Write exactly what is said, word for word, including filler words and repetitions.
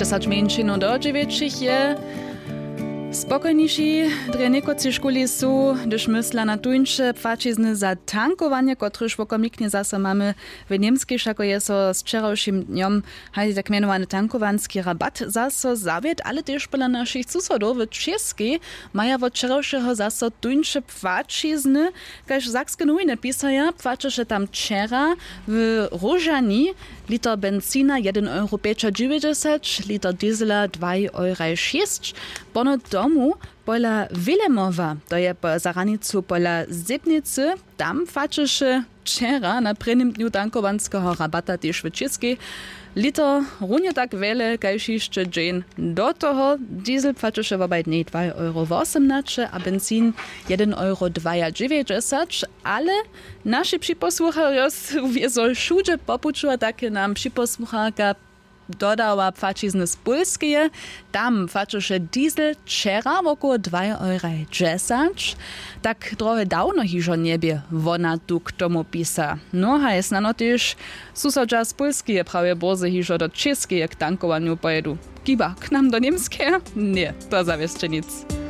Dźesać mjeńšinow do dźewjećich je spokojniši, drje někotři škuli su, hdyž mysla na tuńše płaćizny za tankowanje, kotryž wokomiknje zaso mamy w němskej, wšako je so z wčerawšim dnjom haj tak mjenowany tankowanski rabat zaso zawět, ale tež pola našich susodow w Českej maja wot wčerawšeho zaso tuńše płaćizny. Kaž sakske nowiny pisaja, płaćeše tam wčera w Róžani liter benzina jedyn euro pjećadźewjećdźesać, liter diesela dwaj euraj šěsć. Pono tomu pola Wilemowa, to je po, za hranicu pola Zebnicy, tam płaćeše wčera na prěnim dnju tankowanskeho rabata tež w Českej liter runje tak wjele kaž hišće dźeń do toho. Diesel płaćeše wobaj dnjej dwaj euro wosomnaće a benzin jedyn euro dwajadźewjećdźesać. Ale naši připosłucharjo su wězo wšudźe po puću a tak je nam připosłucharka dodała płaćizny z Pólskeje. Tam płaćeše diesel wčera wokoło dwaj euraj dźesać. Tak drohe dawno hižo njebě, wona tu k tomu pisa. No haj snano tež susodźa z Pólskeje prawje bórze hižo do Českeje k tankowanju pojedu. Kiba k nam do Němskeje? Ně, to zawěsće nic.